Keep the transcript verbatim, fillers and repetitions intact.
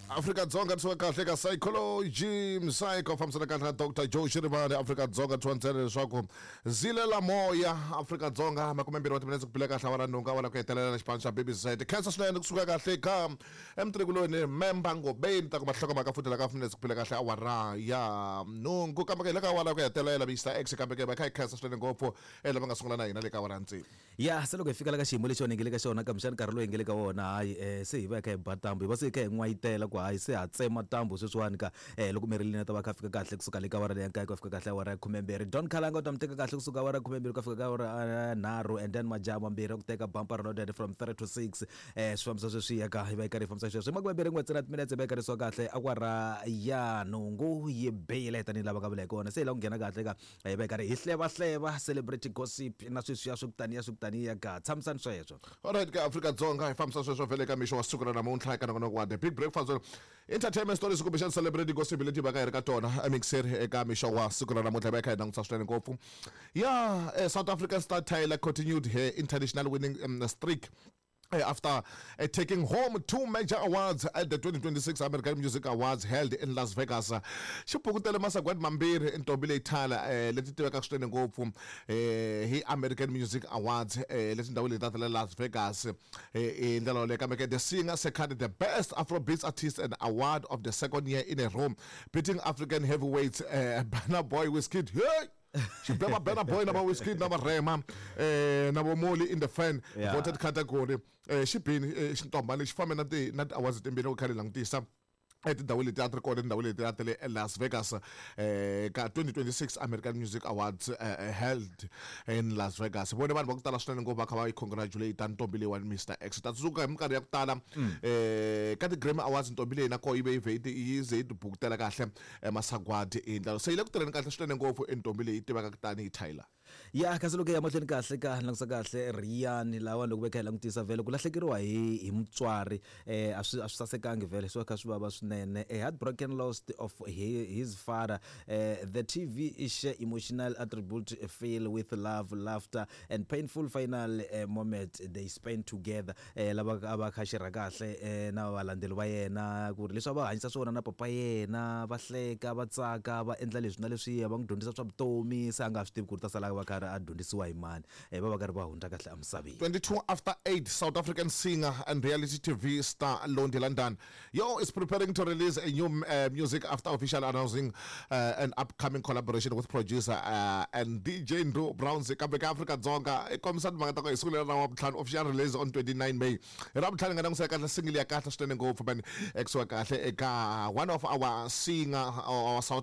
Afrika-Dzonga tisiwa kahle ka Psychology Psycho, fambisana kahle na Doctor Joe Shirimani. Afrika-Dzonga tiwa ntsena leswaku zilela moya. Afrika-Dzonga, makumembirhi wa timinetse ku bile kahle awara nhungu, awara ku hetelela na xipano xa Baby Society. Khensa swinene kusuka kahle ka emtrikuloni memba ngobeni ta kuma hlokomhaka futhi la ka minetse ku bile kahle awara ya nhungu, kambe ke hi le ka awara ku hetelela Mister X, kambe ke va kha hi khensa swinene ngopfu e lava nga sungula na hina le ka awara ya tsevu. Ya, se loko hi fika la ka xiyimo lexi hi nge le ka xona, kambexani nkarhi lowu hi nge le ka wona, hayi, um se hi va hi kha hi ba tambu, hi va se hi kha hi n'wayitela ku hayi, se ha tsema tambu sweswiwani ka um loko Merilini a ta va kha fika kahle kusuka le ka awara leya nkaye ku ya fika kahle awara ya khumembirhi. Don Khalanga u ta mi teka kahle kusuka awara ya khumembirhi ku ya fika ka awara ya nharhu, and then majaha mambirhi ya ku teka bumper loaded from three to six. um swi fambisa sweswiya ka hi va hi karhi hi fambisa sweswo hi makumembirhi n'we ntsena timinetse, hi va hi karhi kahle awara ya nhungu yi bile tanihi lava nga vula hi kona. Se hi lava ku nghena kahle ka hi va hi karhi hi hlevahleva celebrity gossip na sweswiya swi ku taniya swi ku taniya ka tshamisani sweswo. Alright ka Afrika-Dzonga, hi fambisa sweswo vhele ka mixo wa siku ra namuntlha eka nongonoko wa The Big Breakfast, entertainment stories kumbexana celebrity gossip leti va ka hi ri ka tona emixer eka mixo wa siku ra namuntlha. Hi va hi kha hi langutisa swinene ngopfu ya eh, South African star Tyla continued her international winning um, streak Uh, after uh, taking home two major awards at the twenty twenty-six American Music Awards held in Las Vegas. Xi pukutele masagwadi mambirhi ntombi leyi Tyla, eh, leti tivekaka swinene ngopfu eh, hi American Music Awards eh, leti ndhawu leti ta le Las Vegas eh, hi ndlela yoleyo. Kambe ke the singer secured the Best Afrobeats Artist and award of the second year in a row, beating African heavyweights uh, Burna Boy, Wizkid. Hey! Xibeba Burna Boy na va Wizkid na va Rema eh na vo Moli in the fan Yeah. voted category. eh xibini eh, xintombani lexi fambe na ti na ti-awards timbirhi loko kha hi langutisa etindhawini leti a ti ri kona etindhawini leti a ti le Las Vegas eh ka twenty twenty-six American Music Awards eh, held in Las Vegas. Vone vanhu va ku tala swinene ngopfu va kha va yi congratulate ntombi leyiwani. Mister X, ta tsundzuka hi minkarhi ya ku tala eh ka ti-Grammy Awards, ntombi leyi na koho yi ve yi vhe yi ze yi tibukutela kahle eh, masagwadi hi ndlela. Se yi le ku tirheni kahle swinene ngopfu i ntombi leyi tivekaka tanihi Tyla. Ya, kasi loko hi ya mahlweni kahle ka langutisa kahle Riyani lawa, loko va kha hi langutisa vhele ku lahlekeriwa hi hi mutswari eh a swi a swi sasekangi vhele, swi va kha swi vava swinene. A heartbroken loss of his, his father, eh, the T V is emotional attribute filled with love, laughter and painful final eh, moment they spent together. eh lava a va kha xirha kahle eh, na valandzeli va yena ku ri leswi a va hanyisa swona na papa yena, va hleka, va tsaka, va endla leswi na leswiya, va n'wi dyondzisa swa vutomi, se a nga ha swi tivi ku ri ta sala va karhi a dyondzisiwa hi mani, eh, va va karhi va hundza kahle emisaveni. twenty-two after eight, South African singer and reality T V star Londie London, yo, is preparing to release a new uh, music after officially announcing uh, an upcoming collaboration with producer uh, and D J Ndu Browns. Kambe ka Afrika Dzonga i kombisa timhaka ta ku hi siku leri ra Wavutlhanu, official release on twenty-nine May, hi Ravutlhanu nga langusela kahle single ya kahle swinene ngopfu man, ekusuka kahle eka one of our singer, our South